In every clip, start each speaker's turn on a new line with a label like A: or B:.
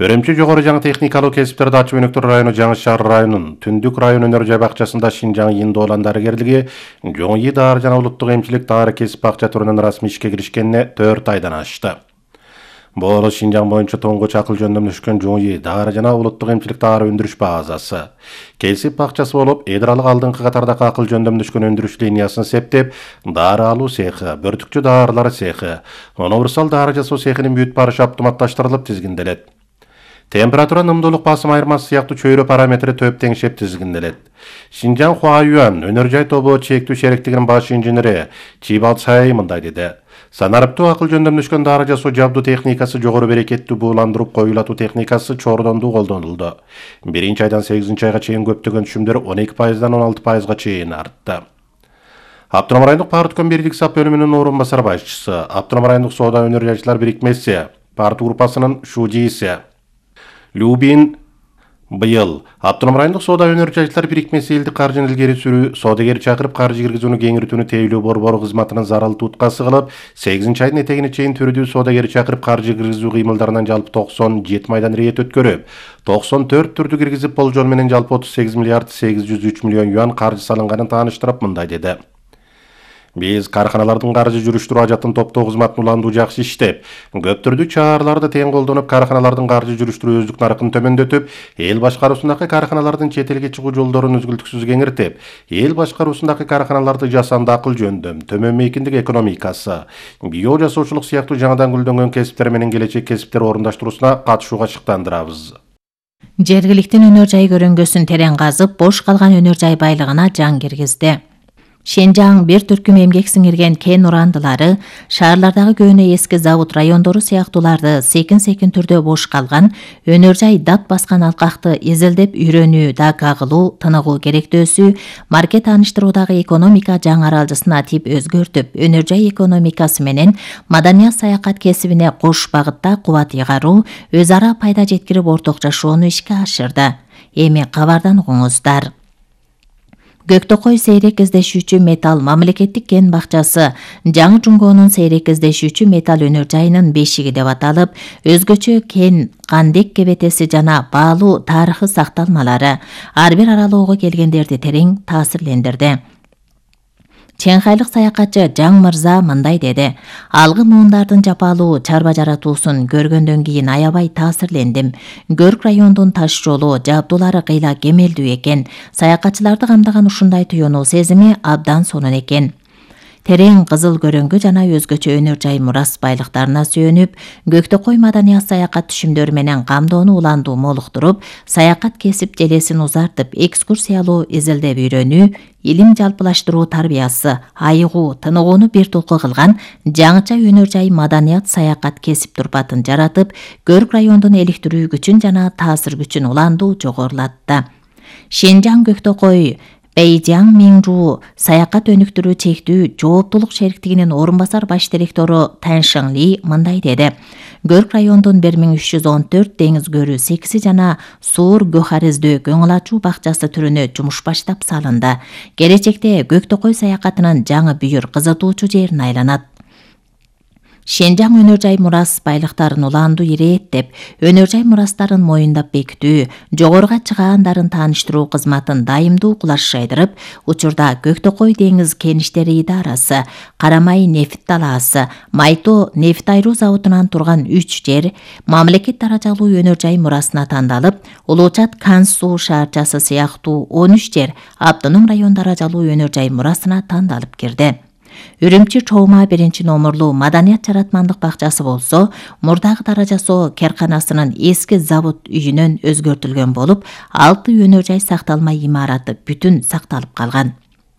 A: Өрөмчү жогору жаңы техникалык кесиптерди ачып өнүктүрүү району Жаңы Шаар районунун Түндүк район өнөр жай бакчасында Шинжаң Индоолан дарыгерлиги Жоңи дары жана улуттук эмчилик дары кесип бакча түрүнүн расмий ишке киришкенине 4 айдан ашты. Бул Шинжаң боюнча тоңгоч акыл жөндөмдөшкөн Жоңи дары жана улуттук эмчилик дары өндүрүш базасы. Кесип бакчасы болуп, эдиралык алдыңкы катардагы акыл жөндөмдөшкөн өндүрүш линиясын септеп, дары алуу цехи, бөртүкчү дарылар цехи, универсал дары жасоо цехинин бүт барышы автоматташтырылып тизгинделет. Температура, нымдуулук, басым айырмасы сыяктуу чөйрө параметри төп теңшеп тизгинделет. Шинжаң Хуаюан өнөр жай тобу чектүү шериктигинин баш инженери Чибал Цай мындай деди. Санариптуу акыл жөндөмдөшкөн дары жасоо жабдуу техникасы жогору берекеттүү бууландырып коюлатуу техникасы чордондуу колдонулду. 1-айдан 8-айга чейин көптөгөн түшүмдөр 12%дан 16%га чейин артты. Автоном райондук партком бирлик сап бөлүмүнүн орун басар башчысы, Автоном райондук соода өнөр жайчылар бирикмеси, парт группасынын шудийси Любин быйыл Автоном райондук соода өнөр жайчылар бирикмеси элдик каржыны илгери сүрүү, соодагер чакырып каржы киргизүүнү кеңиртүүнү тейлөө борбору кызматынын зарыл туткасы кылып, 8-айдын этегине чейин түрүдүү соодагер чакырып каржы киргизүү кыймылдарынан жалпы 97 майдан рейд өткөрүп, 94 түрдү киргизип болжол менен жалпы 38 миллиард 803 миллион юан каржы салынганын тааныштырып мындай деди. Биз карханалардын каржы жүрүштүрүү ажатын топтоо кызматын уландуу жакшы иштеп, көп түрдүү чараларды тең колдонуп, карханалардын каржы жүрүштүрүү өздүк наркын төмөндөтүп, эл башкаруусундагы карханалардын чет элге чыгуу жолдорун үзгүлтүксүз кеңиртип, эл башкаруусундагы карханаларды жасанды акыл жөндөм, төмөн мейкиндик экономикасы, био жасоочулук сыяктуу жаңыдан гүлдөнгөн кесиптер менен келечек кесиптер орундаштыруусуна катышууга шыктандырабыз.
B: Жергиликтин өнөр жай көрөңгөсүн терең казып, бош калган өнөр жай байлыгына жан киргизди. Шинжаң бир түркүм эмгек сиңирген кен урандылары, шаарлардагы көөнө эски завод райондору сыяктууларды секин түрдө бош калган, өнөр жай дат баскан алкакты изилдеп үйрөнүү да кагылуу, тыныгуу керектөөсү, маркет тааныштыруудагы экономика жаңы аралжысына тип өзгөртүп, өнөр жай экономикасы менен маданият саякат кесибине кош багытта кубат ыйгаруу, өз ара пайда жеткирип орток жашоону ишке ашырды. Эми кабардан угуңуздар. Көктөкөй сейрек издешүүчү металл мамлекеттик кен бакчасы Жаңы Жунгоонун сейрек издешүүчү металл өнөр жайынын бешиги деп аталып, өзгөчө кен, кандек кебетеси жана баалуу тарыхы сакталмалары ар бир аралоого келгендерди терең таасирлендирди. Чеңхайлык саякатчы Жаң Мырза мындай деди. Алгы муундардын жапалуу чарба жаратуусун көргөндөн кийин аябай таасирлендим. Көрк райондун таш жолу, жабдуулары кыйла кемелдүү экен. Саякатчыларды камдаган ушундай туюнуу сезими абдан сонун экен. Терең кызыл көрөңгү жана өзгөчө өнөр жай мурас байлыктарына сүйөнүп, Көктөкөй маданият саякат түшүмдөрү менен камдоону уландуу молуктуруп, саякат кесип желесин узартып, экскурсиялуу изилдеп үйрөнүү, илим жалпылаштыруу тарбиясы, айыгуу, тыныгууну бир толку кылган жаңыча өнөр жай маданият саякат кесип турпатын жаратып, Көрк райондун эликтирүү күчүн жана таасир күчүн уландуу жогорулатты. Шинжаң Көктөкөй Бейжаң Минжу саякат өнүктүрүү чектүү жооптулук шериктигинин орун басар баш директору Таншың Ли мындай деди. Көрк райондун 1314 деңиз көрүү секси жана суур гөхариздөө көңүл ачуу бакчасы түрүнө жумуш баштап салынды. Келечекте Көктөкөй саякатынын жаңы бүйүр кызытуучу жерине айланат. Шинжаң өнөр жай мурас байлыктарын уландуу ирээттеп, өнөр жай мурастарын моюндап бекитүү, жогоруга чыгаандарын тааныштыруу кызматын дайымдуу кулаш жайдырып, учурда Көктөкөй деңиз кеништери идарасы, Карамай нефт талаасы, Майто нефт айруу заводунан турган 3 жер мамлекет даражалуу өнөр жай мурасына тандалып, Улуучат Канс суу шаарчасы сыяктуу 13 жер автоном район даражалуу өнөр жай мурасына тандалып кирди. Үрүмчү Чоума 1-номурлуу маданият жаратмандык бакчасы болсо, мурдагы дара жасоо керканасынын эски завод үйүнөн өзгөртүлгөн болуп, 6 өнөр жай сакталма имараты бүтүн сакталып калган.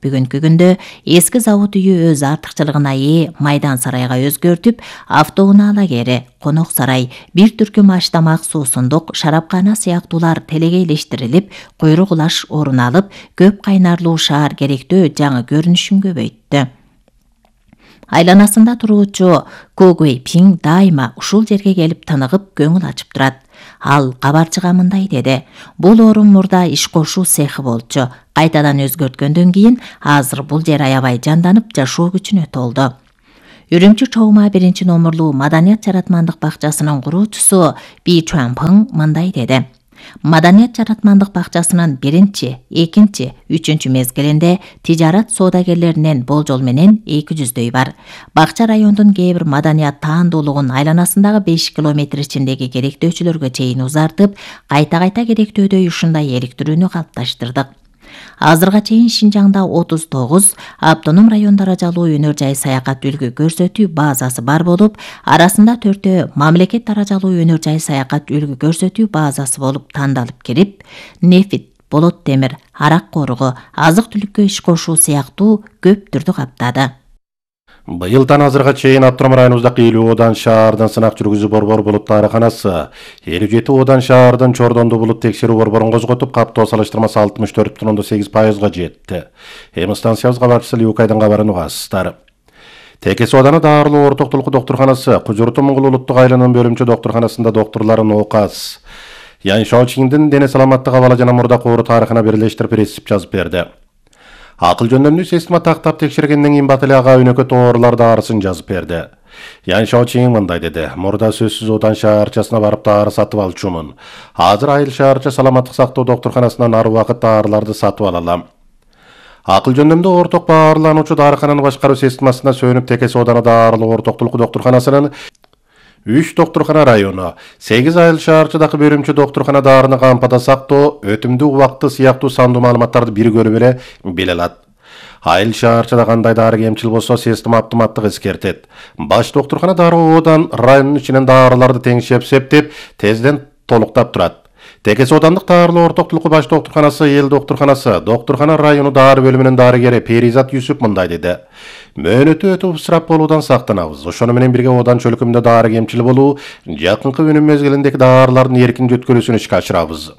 B: Бүгүнкү күндө эски завод үйү өз артыкчылыгына ээ майдан сарайга өзгөртүп, автоунаа лагери, конок сарай, бир түркүм аштамак, суусундук, шарапкана сыяктуулар телегейлештирилип, куйрук улаш орун алып, көп кайнарлуу шаар керектөө жаңы көрүнүшүн көбөйттү. Айланасында туруучу Когуэй Пиң дайыма ушул жерге келип тыныгып көңүл ачып турат. Ал кабарчыга мындай деди. Бул орун мурда иш кошуу цехи болчу. Кайтадан өзгөрткөндөн кийин азыр бул жер аябай жанданып, жашоо күчүнө толду. Үрүмчү Чоума 1-номурлуу Маданият жаратмандык бакчасынын куруучусу Би Чуанпың мындай деди. Маданият жаратмандык бакчасынын 1, 2, 3 мезгилинде тижарат соодагерлеринен болжол менен 200дөй бар. Бакча райондун кээ бир маданият таандуулугун айланасындагы 5 километр ичиндеги керектөөчүлөргө чейин узартып, кайта керектөөдөй ушундай иликтирүүнү калыпташтырдык. Азырга чейин Шинжаңда 39 автоном район даражалуу өнөр жай саякат үлгү көрсөтүү базасы бар болуп, арасында 4 мамлекет даражалуу өнөр жай саякат үлгү көрсөтүү базасы болуп тандалып кирип, нефт, болот темир, арак коругу, азык-түлүккө иш кошуу сыяктуу көп түрдү каптады.
A: Быйылдан азырга чейин Автоном районубуздагы 50 одан шаардан сынак жүргүзүү борбор булут дарыканасы, 57 одан шаардын Чордонду булут текшерүү борборун козготуп, каптоо салыштырмасы 64,8%га жетти. Эми станциябыз кабарчысы Люкайдын кабарын угасыздар. Текес ооданы Даарылуу ортоктулук доктурканасы, Кужурту Муңгул улуттук айланын бөлүмчө доктурканасында доктурларын ооказ, Ян Шаочиңдин дене саламаттык абалы жана мурдак оору тарыхына бирлештирип рецепт жазып берди. Акыл жөндөмдүү система тактап текшергенден кийин Батали ага өнөкөт оорулар даарысын жазып берди. Ян Шаочиң мындай деди. Мурда сөзсүз Одан шаарчасына барып дары сатып алчумун. Азыр Айыл шаарча саламаттык сактоо доктурканасынан ар убакыт даарыларды сатып алалам. Акыл жөндөмдүү орток баарлануучу дарыкананын башкаруу системасына сөнүп, Текес ооданы Даарылуу ортоктулук доктурканасынын 3 доктуркана району, 8 Айыл шаарчадагы бөлүмчө доктуркана даарыны кампада сактоо, өтүмдүү убакты сыяктуу сандуу маалыматтарды бир көрүп эле биле алат. Айыл шаарчада кандай дары кемчил болсо, система автоматтык эскертет. Баш доктуркана Даарылуу одан районун ичинен даарыларды теңшеп септеп, тезден толуктап турат. Текес оодандык Даарылуу ортоктулук баш доктурканасы, эл доктурканасы, доктуркана району дары бөлүмүнүн дарыгери Перизат Юсуп мындай деди. Мөөнөтү өтүп ысырап болуудан сактанабыз. Ошону менен бирге одан чөлкөмдө дары кемчил болуу, жакынкы өнүм мезгилиндеги даарылардын эркин жөткөрүүсүн ишке ашырабыз.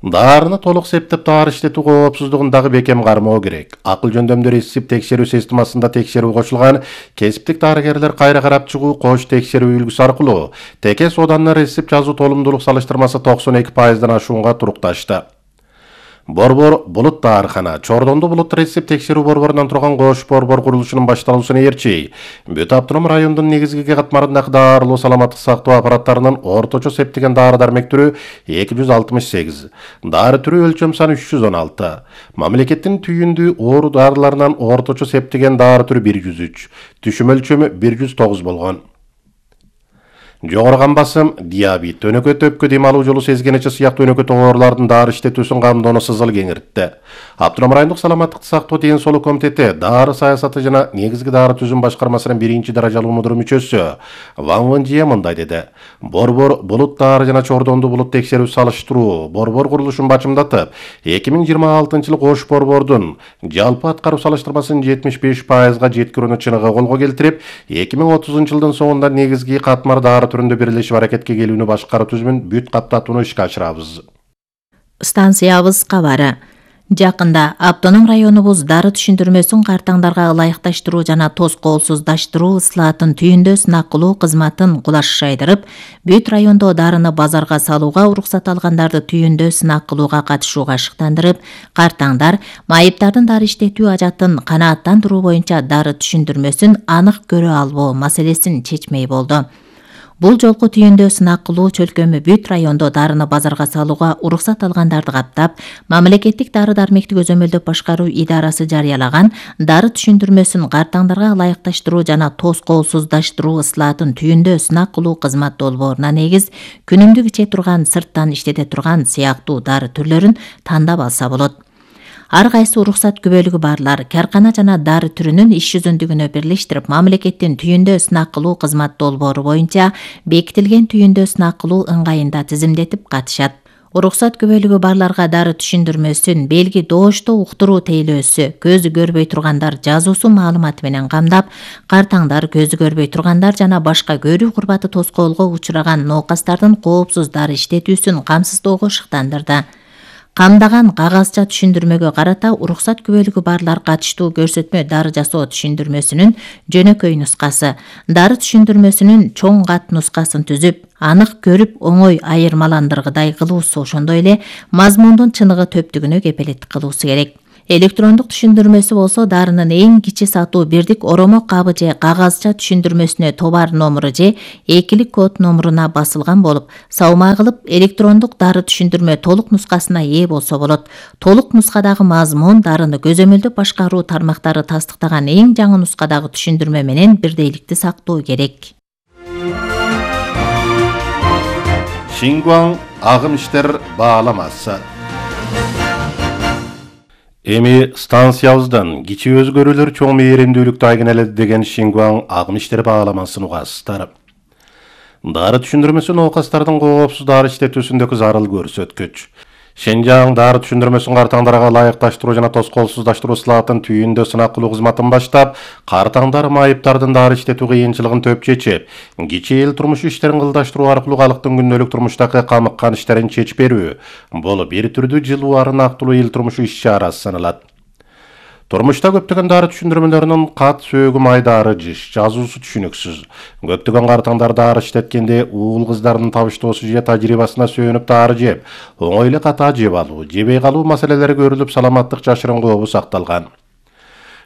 A: Даарыны толук септеп дары иштетүү коопсуздугун дагы бекем кармоо керек. Акыл жөндөмдүү рецепт текшерүү системасында текшерүү кошулган, кесиптик дарыгерлер кайра карап чыгуу кош текшерүү үлгүсү аркылуу Текес ооданы рецепт жазуу толумдуулук салыштырмасы 92%дан ашуунга турукташты. Борбор булут дарыкана, Чордонду булут рецепт текшерүү борборунан турган кош борбор курулушунун башталуусуна ээрчи, бүт Автоном райондун негизги катмарындагы даарылуу саламаттык сактоо аппараттарынын орточо септеген дары-дармек түрү 268, дары түрү өлчөм саны 316, мамлекеттин түйүндүү оору дарыларынан орточо септеген дары түрү 103, түшүм өлчөмү 109 болгон. Жогору кан басым, диабет, өнөкөт өпкө дем алуу жолу сезгенече сыяктуу өнөкөт оорулардын дары иштетүүсүн камдоону сызыл кеңиртти. Автоном райондук саламаттык сактоо ден соолук комитети дары саясаты жана негизги дары түзүм башкармасынын 1-даражалуу мудуру мүчөсү Ван Вэнжие мындай деди. Борбор булут дары жана Чордонду булут текшерүү салыштыруу борбор курулушун бачымдатып, 2026-жылы кош борбордун жалпы аткаруу салыштырмасын 75%га жеткирүүнү чыныгы колго келтирип, 2030-жылдын соңунда негизги катмар дары түрүндө бирлешип аракетке келүүнү башкаруу түзүмүн бүт каптатууну ишке ашырабыз.
B: Станциябыз кабары. Жакында Автоном районубуз дары түшүндүрмөсүн картаңдарга ылайыкташтыруу жана тоскоолсуздаштыруу ыслаатын түйүндө сынак кылуу кызматын кулаш шайдырып, бүт райондо дарыны базарга салууга уруксат алгандарды түйүндө сынак кылууга катышууга шыктандырып, картаңдар майыптардын дары иштетүү ажатын канааттандыруу боюнча дары түшүндүрмөсүн анык көрө албоо маселесин чечмей болду. Бул жолку түйүндө сынак кылуу чөлкөмү бүт райондо дарыны базарга салууга уруксат алгандарды каптап, мамлекеттик дары-дармекти көзөмөлдөп башкаруу идарасы жарыялаган дары түшүндүрмөсүн картаңдарга ылайыкташтыруу жана тоскоолсуздаштыруу ыслаатын түйүндө сынак кылуу кызмат долбооруна негиз күнүмдүк иче турган, сырттан иштете турган сыяктуу дары түрлөрүн тандап алса болот. Ар кайсы уруксат күбөлүгү барлар каркана жана дары түрүнүн иш жүзүндүгүнө бирлештирип, мамлекеттин түйүндө сынак кылуу кызмат долбоору боюнча бекитилген түйүндө сынак кылуу ыңгайында тизимдетип катышат. Уруксат күбөлүгү барларга дары түшүндүрмөсүн белги доошто уктуруу тейлөөсү, көзү көрбөй тургандар жазуусу маалыматы менен камдап, картаңдар, көзү көрбөй тургандар жана башка көрүү курбаты тоскоолго учураган ноокастардын коопсуз дары иштетүүсүн камсыздоого шыктандырды. Камдаган кагазча түшүндүрмөгө карата уруксат күбөлүгү барлар катыштуу көрсөтмө дары жасоо түшүндүрмөсүнүн жөнөкөй нускасы, дары түшүндүрмөсүнүн чоң кат нускасын түзүп, анык көрүп оңой айырмаландыргыдай кылуусу, ошондой эле мазмундун чыныгы төптүгүнө кепелеттик кылуусу керек. Электрондук түшүндүрмөсү болсо дарынын эң кичи сатуу бирдик оромо кабы же кагазча түшүндүрмөсүнө товар номуру же экилик код номуруна басылган болуп, салмаа кылып электрондук дары түшүндүрмө толук нускасына ээ болсо болот. Толук нускадагы мазмун дарыны көзөмөлдөп башкаруу тармактары тастыктаган эң жаңы нускадагы түшүндүрмө менен бирдейликти сактоо керек.
A: Шингуан агым иштер бааламасы. Эми станциябыздан кичи өзгөрүүлөр чоң мээримдүүлүктү айгинеледи деген Шингуан агым иштер бааламасын угасыздар. Дары түшүндүрмөсү оокастардын коопсуз дары иштетүүсүндөгү зарыл көрсөткүч. Шенжаң дары түшүндүрмөсүн картаңдарга ылайыкташтыруу жана тоскоолсуздаштыруу сылаатын түйүндө сынак кылуу кызматын баштап, картаңдар майыптардын дары иштетүү кыйынчылыгын төп чечип, кичи эл турмуш иштерин кылдаштыруу аркылуу калктын күндөлүк турмуштагы камыккан иштерин чечип берүү. Бул бир түрдүү жылуу ары нактылуу эл турмушу иш-чарасы саналат. Турмушта көптөгөн дары түшүндүрмөлөрүнүн кат сөөгү майдары жыш, жазуусу түшүнүксүз. Көптөгөн картаңдар дары иштеткенде уул кыздардын табыштоосу же тажрыйбасына сөөнүп дары жеп, оңой эле ката жеп алуу, жебей калуу маселелери көрүлүп, саламаттык жашырын кообу сакталган.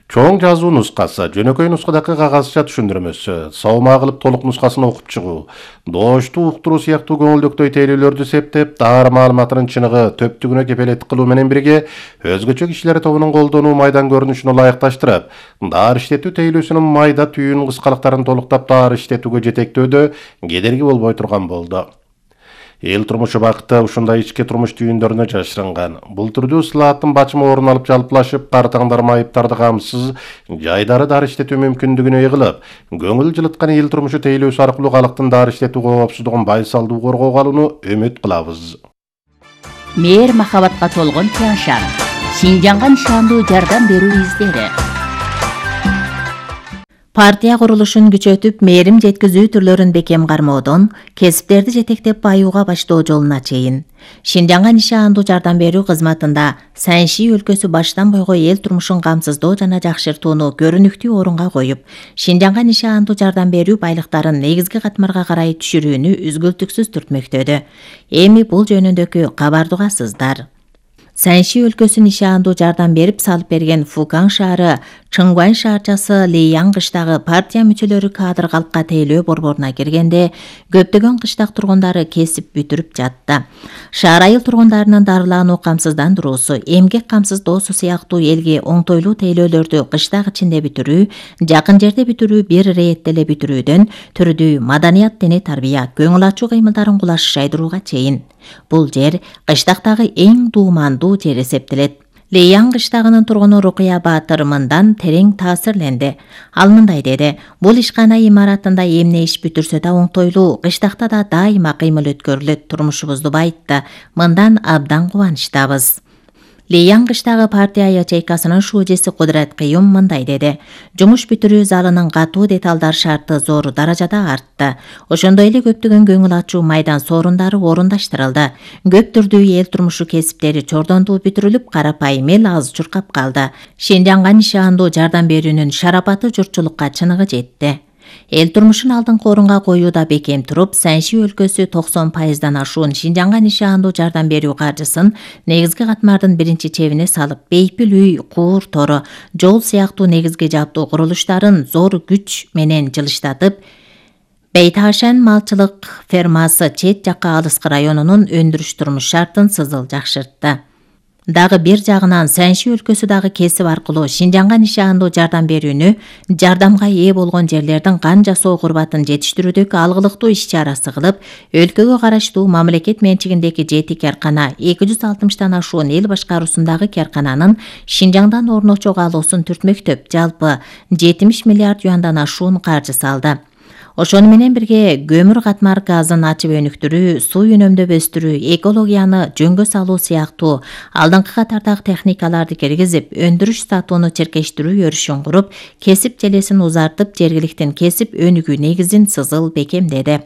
A: Чоң жазуу нускасы, жөнөкөй нускадагы кагазча түшүндүрмөсү, салмаа кылып толук нускасын окуп чыгуу, доошту уктуруу сыяктуу көңүлдөктөй тейлөөлөрдү септеп, дары маалыматынын чыныгы, төптүгүнө кепелеттик кылуу менен бирге, өзгөчө кишилер тобунун колдонуу майдан көрүнүшүн ылайыкташтырып, дары иштетүү тейлөөсүнүн майда түйүн кыскалыктарын толуктап дары иштетүүгө жетектөөдө кедерги болбой турган болду. Эл турмушу бакыты ушундай ички турмуш түйүндөрүнө жашырынган. Бул түрдүү ысылааттын бачымы орун алып жалпылашып, картаңдар майыптарды камсыз, жайдары дары иштетүү мүмкүндүгүнө ыйгылып, көңүл жылыткан эл турмушу тейлөөсү аркылуу калктын дары иштетүү коопсуздугун байсалдуу коргоого алууну үмүт кылабыз.
C: Мээр махабатка толгон Тяншан. Шинжаңга нишандуу жардам берүү издери.
B: Партия курулушун күчөтүп, мээрим жеткизүү түрлөрүн бекем кармоодон, кесиптерди жетектеп баюуга баштоо жолуна чейин. Шинжаңга нишандуу жардам берүү кызматында Сэньши өлкөсү баштан бойго эл турмушун камсыздоо жана жакшыртууну көрүнүктүү орунга коюп, Шинжаңга нишандуу жардам берүү байлыктарын негизги катмарга карай түшүрүүнү үзгүлтүксүз түртмөктөдү. Эми бул жөнүндөгү кабарды угасыздар. Сэньши өлкөсү нишандуу жардам берип салып берген Фукан шаары, Чыңгуан шаарчасы Лейян кыштагы партия мүчөлөрү кадр калкка тейлөө борборуна киргенде, көптөгөн кыштак тургундары кесип бүтүрүп жатты. Шаар айыл тургундарынын дарылануу камсыздандыруусу, эмгек камсыздоосу сыяктуу элге оңтойлуу тейлөөлөрдү кыштак ичинде бүтүрүү, жакын жерде бүтүрүү, бир иретте эле бүтүрүүдөн түрдүү маданият, дене тарбия, көңүл ачуу кыймылдарын кулаш жайдырууга чейин. Бул жер кыштактагы эң дуумандуу жер эсептелет. Лейян кыштагынын тургуну Рукуя Баатыр мындан терең таасирленди. Ал мындай деди: бул ишкана имаратында эмне иш бүтүрсө да оңтойлуу, кыштакта да дайыма кыймыл өткөрүлөт, турмушубузду байытты. Мындан абдан кубанычтабыз. Лейян кыштагы партия ячейкасынын шуужеси Кудрат Кыюм мындай деди: жумуш бүтүрүү залынын катуу деталдар шарты зор даражада артты. Ошондой эле көптөгөн көңүл ачуу майдан соорундары орундаштырылды. Көп түрдүү эл турмушу кесиптери чордондуу бүтүрүлүп, карапайым эл аз чуркап калды. Шинжаңга нишандуу жардам берүүнүн шарапаты журтчулукка чыныгы жетти. Эл турмушун алдыңкы орунга коюуда бекем туруп, Сэньши өлкөсү 90%дан ашуун Шинжаңга нишандуу жардам берүү каржысын негизги катмардын биринчи чебине салып, бейпил үй, куур тору, жол сыяктуу негизги жабдуу курулуштарын зор күч менен жылыштатып, Бейташан малчылык фермасы чет жакка алыскы районунун өндүрүш турмуш шартын сызыл жакшыртты. Дагы бир жагынан Сэньши өлкөсү дагы кесип аркылуу Шинжаңга нишандуу жардам берүүнү, жардамга ээ болгон жерлердин кан жасоо курбатын жетиштирүүдөгү алгылыктуу иш-чарасы кылып, өлкөгө караштуу мамлекет менчигиндеги 7 каркана, 260тан ашуун эл башкаруусундагы каркананын Шинжаңдан орночого алуусун түртмөктөп, жалпы 70 миллиард юандан ашуун каржы салды. Ошону менен бирге көмүр катмар газын ачып өнүктүрүү, суу үнөмдөп өстүрүү, экологияны жөнгө салуу сыяктуу алдыңкы катардагы техникаларды киргизип, өндүрүш сатууну черкештирүү өрүшүн куруп, кесип желесин узартып, жергиликтин кесип өнүгүү негизин сызыл бекемдеди.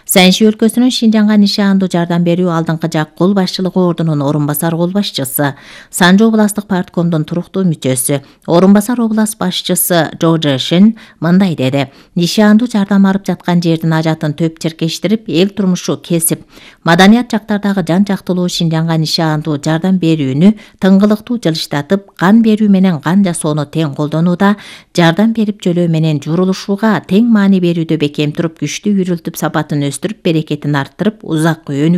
B: Сэнши өлкөсүнүн Шинжаңга нишандуу жардам берүү алдыңкы жак кол башчылыгы ордунун орун басар кол башчысы, Санжы областык парткомдун туруктуу мүчөсү, орун басар област башчысы Жо Жешин мындай деди: нишандуу жардам алып жаткан жердин ажатын төп черкештирип, эл турмушу кесип, маданият жактардагы жан жактылуу Шинжаңга нишандуу жардам берүүнү тыңгылыктуу жылыштатып, кан берүү менен кан жасоону тең колдонууда, жардам берип жөлөө менен журулушууга тең маани берүүдө бекем туруп, күчтүү үйрүлтүп, сапатын өстүрүп, берекетин арттырып, узак өнүгүү